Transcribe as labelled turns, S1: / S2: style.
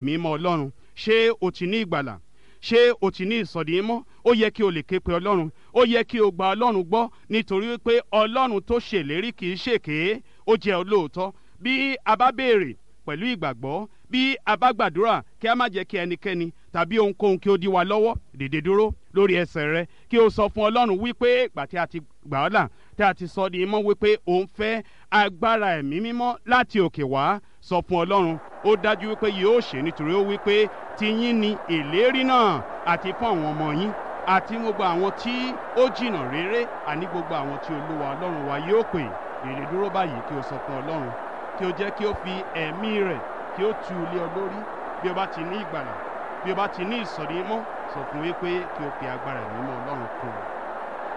S1: Mímọ́ Ọlọ́run. Ṣé o ti ní ìgbàlà? Ṣé o ti ní ìsọdimímọ́? Ó yẹ kí o lè ké pe Ọlọ́run, ó yẹ kí o gba Ọlọ́run gbọ́, nítorí pé Ọlọ́run tó ṣèlérí kì í ṣèké, ó jẹ́ olóòótọ́. Bí a bá béèrè pẹ̀lú ìgbàgbọ́, bí a bá gbàdúrà, kí a má jẹ́ kí ẹnikẹ́ni tàbí ohunkóhun kí ó dí wa lọ́wọ́. Dìde dúró lórí ẹsẹ̀ rẹ, kí o sọ fún Ọlọ́run wípé ìgbà tí a ti gbà ọ́ là, tí a ti sọ di mímọ́, wípé òun fẹ́ agbára ẹ̀mí mímọ́ láti òkè wá. Sọ fún Ọlọ́run, ó dájú wípé yóò ṣe, nítorí ó wípé tiyín ni ìlérí náà, àti fún àwọn ọmọ yín, àti gbogbo àwọn tí ó jìnnà réré, àní gbogbo àwọn tí Olúwa Ọlọ́run wa yóò pè. Dìde dúró báyìí, kí o sọ fún Ọlọ́run kí o jẹ́ kí ó fi ẹ̀mí rẹ̀ kí ó tu ilé ọ lórí. Bí o bá ti ní ìgbàlà, bí o bá ti ní ìsọ̀rí mọ́, sọ fún wípé kí o fi agbára ẹ̀mí mọ́ Ọlọ́run kún un.